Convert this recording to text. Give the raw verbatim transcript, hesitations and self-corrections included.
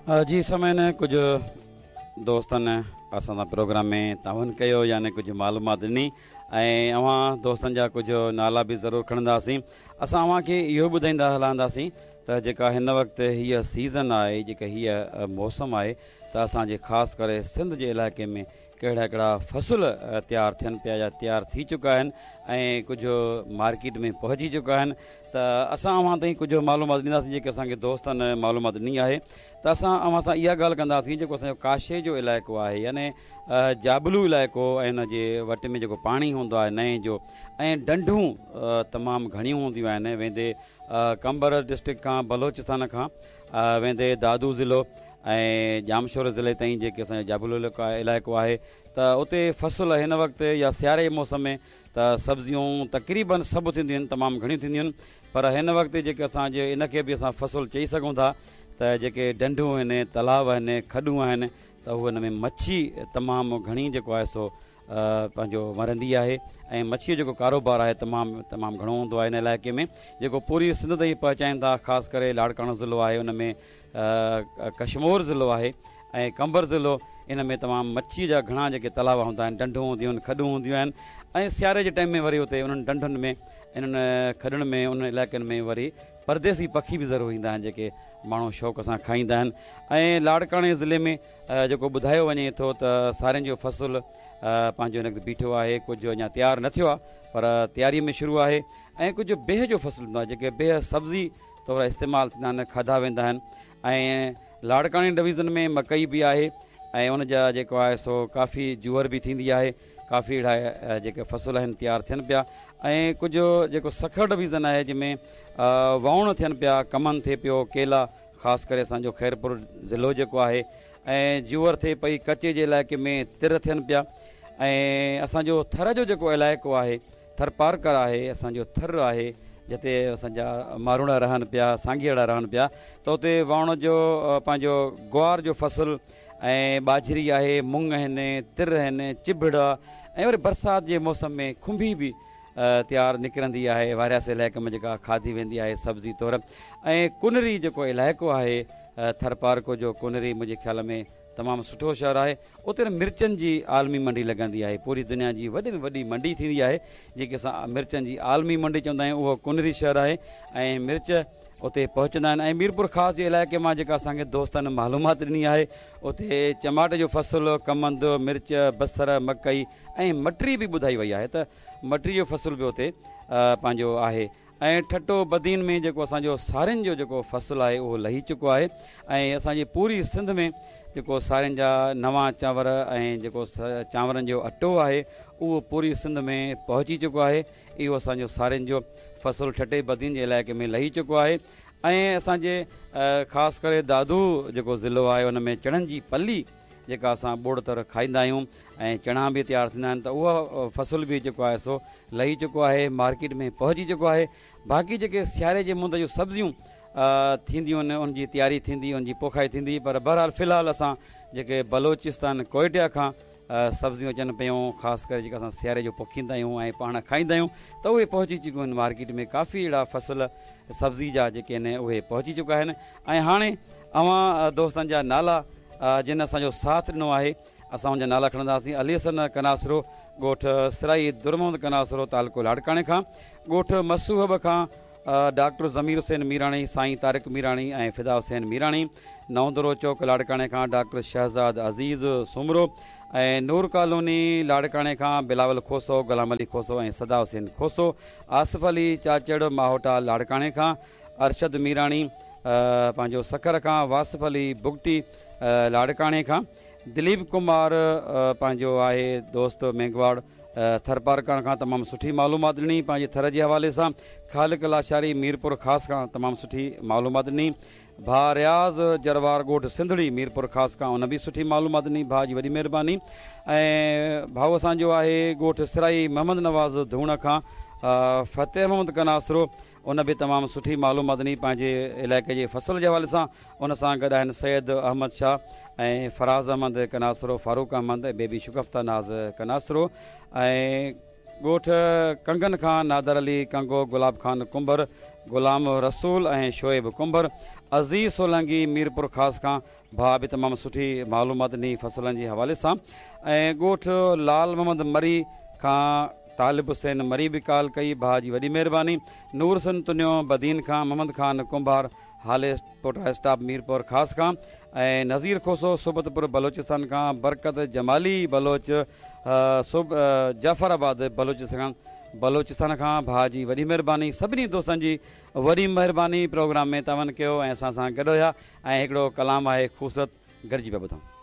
جي سامعين، ڪجهه دوستن اسان سان پروگرام ۾ تعاون ڪيو، يعني ڪجهه معلومات ڏني ۽ اوهان دوستن جا ڪجهه نالا به ضرور کڻنداسين. اسان اوهان کي اهو ٻڌائيندا هلنداسين ته جيڪا هن وقت هيء سيزن آهي، جيڪا هيء موسم آهي، ته اسان جي خاص ڪري سنڌ جي علائقي ۾ ڪهڙا ڪهڙا فصل تيار ٿين پيا يا تيار ٿي چڪا آهن ۽ ڪجهه مارڪيٽ ۾ پهچي چڪا آهن، ته اسان اوهان تائين ڪجهه معلومات ڏينداسين جيڪي اسان کي دوستن معلومات ڏني آهي. ته اسان اوهان سان اها ڳالهه ڪنداسين جيڪو اسان جو ڪاشي جو علائقو آهي، يعني جابلو علائقو ۽ ان جي وٽ ۾ جيڪو پاڻي هوندو آهي نئين جو ۽ ڍنڍون تمام گهڻيون هونديون آهن، ويندي قمبر ڊسٽرڪٽ کان، بلوچستان کان ويندي دادو ضلعو ۽ ڄامشورو ضلعي تائين جيڪي اسان جو جابلو علائقو آهي، ته اتي فصل هن وقت يا سياري جي موسم ۾ ته سبزيون تقريبن سڀ ٿينديون آهن، تمام گهڻيون ٿينديون آهن. پر هن وقت جيڪي اسان جي ان کي به اسان فصل چئي سگهون ٿا ته جيڪي ڍنڍون آهن، تلاء آهن، کڏون آهن، ته هو ان ۾ مڇي تمام گهڻي جيڪو آهي سو پنهنجو مرندي آهي ۽ مڇيء جو جيڪو ڪاروبار آهي تمام تمام گهڻو هوندو آهي ان علائقي ۾، جيڪو پوري سنڌ تائين پهچائين ٿا. خاص ڪري لاڙڪاڻو ضلعو آهي، ان ۾ ڪشمور ضلعو آهي ۽ قمبر ضلعو، ان ۾ تمام مڇيء جا گهڻا جيڪي تلاء هوندا آهن، ڍنڍون هونديون آهن، کڏون هونديون آهن ۽ سياري جي ٽائيم ۾ وري اتي انهن ڍنڍن ۾، انهن کڏن ۾، انهن علائقن ۾ وري پرديسي پکي به ضرور ايندا آهن جيڪي ماڻهو شوق سان کائيندا آهن. ۽ لاڙڪاڻي ضلعي ۾ جيڪو ٻڌايو وڃي ٿو ته سارين جو فصل پنهنجو هن وقت بيٺو آهي، ڪجهه اڃا تيار نه ٿيو آهي پر تياري ۾ شروع آهي ۽ ڪجهه بيهه جو فصل ٿيندو آهي، جيڪي بيهه سبزي طور استعمال ٿيندا آهن، کاڌا ويندا آهن. ۽ لاڙڪاڻي ڊويزن ۾ مڪئي به آهي ۽ ان جا جيڪو آهي سو ڪافي جوئر به ٿيندي آهي، ڪافي اهڙا جيڪي فصل آهن تيار ٿين پيا. ۽ ڪجهه جيڪو سکر ڊويزن آهي جنهن ۾ ووڻ ٿين پيا، ڪمند ٿئي پيو، ڪيلا، خاص ڪري اسان جو خيرپور ضلعو جيڪو آهي، ۽ جوئر ٿئي پئي. ڪچي جي علائقي ۾ تر ٿين پيا. ۽ اسان جو ٿر جو جيڪو علائقو آهي، ٿرپارڪر آهي، اسان جو ٿر آهي، جتي اسان جا ماروئڙا رهن پيا، سانگيئڙا رهن پيا، ته اتي ووڻ جو پنهنجو گوار جو فصل ۽ ٻاجهري آهي، مڱ آهن، تر آهن، چڀڙ آهي ۽ وري برسات جي موسم ۾ کنڀي به تيار نڪرندي آهي وارياسي علائقي ۾ جيڪا کاڌي ويندي آهي سبزي طور. ۽ ڪنري جيڪو علائقو آهي ٿرپارڪو جو، ڪنري منهنجي خيال ۾ تمام سٺو شهر آهي. اتي مرچن جي عالمي منڊي لڳندي آهي، پوري دنيا جي وڏي ۾ وڏي منڊي ٿيندي آهي جيڪي اسان مرچن جي عالمي منڊي چوندا آهيون، اهو ڪنري شهر آهي ۽ مرچ اتي پهچندا آهن. ۽ ميرپور خاص جي علائقي مان جيڪا اسان کي دوستن معلومات ڏني آهي، اتي چماٽ جو فصل، ڪمند، مرچ، بصر، مڪئي ۽ مٽري به ٻڌائي وئي آهي ته مٽري جو فصل به اتي پنهنجو آهي. ۽ ٺٽو بدين ۾ جيڪو اسان جو سارين جو جيڪو فصل آهي اهو لهي چڪو آهي ۽ اسان جي پوري سنڌ ۾ جيڪو سارين جا نوان چانور ۽ جيڪو چانورن جو اٽو آهي اهو پوري سنڌ ۾ پهچي چڪو آهي. اهو اسان جو سارين جو فصل ٺٽي بدين جي علائقي ۾ لهي چڪو آهي. ۽ اسان جي خاص ڪري دادو جيڪو ضلعو آهي ان ۾ چڻن جي پلي جيڪا اسان ٻوڙ تر کائيندا آهيون ۽ چڻا به تيار ٿيندا آهن، ته اهو فصل به جيڪو آهي سو لهي چڪو آهي، مارڪيٽ ۾ پهچي چڪو آهي. باقي جيڪي سياري جي مند جون سبزيون ٿينديون آهن ان جي تياري ٿيندي، ان جي پوکائي ٿيندي، پر بهرحال في الحال اسان جيڪي بلوچستان ڪوئٽيا کان سبزيون اچن پيون، خاص ڪري جيڪا اسان سياري جو پوکيندا آهيون ۽ پاڻ کائيندا آهيون، ته اهي پهچي چڪيون آهن مارڪيٽ ۾. ڪافي اهڙا فصل سبزي جا جيڪي آهن اهي پهچي چڪا آهن. ۽ هاڻي اوهان دوستن جا نالا جن اسان جو ساٿ ڏنو آهي اسان ان جا نالا کڻنداسين. علي حسن ڪناسرو، ڳوٺ سرائي درمحمد ڪناسرو، تعلقو لاڙڪاڻي کان، ڳوٺ مسوحب کان ڊاڪٽر ضمير حسين ميراڻي، سائين طارق ميراڻي ۽ فدا حسين ميراڻي، نئون دڙو چوڪ لاڙڪاڻي کان ڊاڪٽر شهزاد عزيز سومرو ۽ نور ڪالوني لاڙڪاڻي کان بلاول کوسو، غلام علي کوسو ۽ صدا حسين کوسو، آصف علي چاچڙ ماهوٽا لاڙڪاڻي کان، ارشد ميراڻي پنهنجو سکر کان، واصف علي بگٽي لاڙڪاڻي کان، دليپ ڪمار پنهنجو آهي دوست مينگواڙ ٿرپارڪر کان تمام سٺي معلومات ڏني پنهنجي ٿر جي حوالي سان، خالق لاشاري ميرپور خاص کان تمام سٺي معلومات ڏني، ڀاء رياض جروار ڳوٺ سنڌڙي ميرپور خاص کان ان به سٺي معلومات ڏني، ڀاء جي وڏي مهرباني. ۽ ڀاء اسان جو آهي ڳوٺ سرائي محمد نواز ڌوڻ کان فتح محمد ڪناسرو، ان به تمام سٺي معلومات ڏني پنهنجي علائقي جي فصل جي حوالي سان. ان سان گڏ آهن سيد احمد شاهه ۽ فراز احمد ڪناسرو، فاروق احمد ۽ بيبي شگفته ناز ڪناسرو ۽ ڳوٺ ڪنگن کان نادر علي ڪنگو، گلاب خان ڪنڀر، غلام رسول ۽ شعيب ڪنڀر، عزيز سولنگي ميرپور خاص کان، ڀاءُ به تمام سٺي معلومات ڏني فصلن جي حوالي سان. ۽ ڳوٺ لال محمد مري کان طالب حسين مري به ڪال ڪئي، ڀاءُ جي وڏي مهرباني. نور حسين تنيو بدين کان، محمد خان ڪنڀار هالي پوٽا اسٽاپ ميرپور خاص کان، ۽ نذير کوسو صحبتپور بلوچستان کان، برڪت جمالي بلوچ صوب جعفر آباد بلوچستان بلوچستان کان، ڀاءُ جي وڏي مهرباني. سڀني دوستن جي وڏي مهرباني، پروگرام ۾ تعاون ڪيو ۽ اسان سان گڏ هئا. ۽ هڪڙو ڪلام آهي خوبصورت، گڏجي پيا ٻڌون.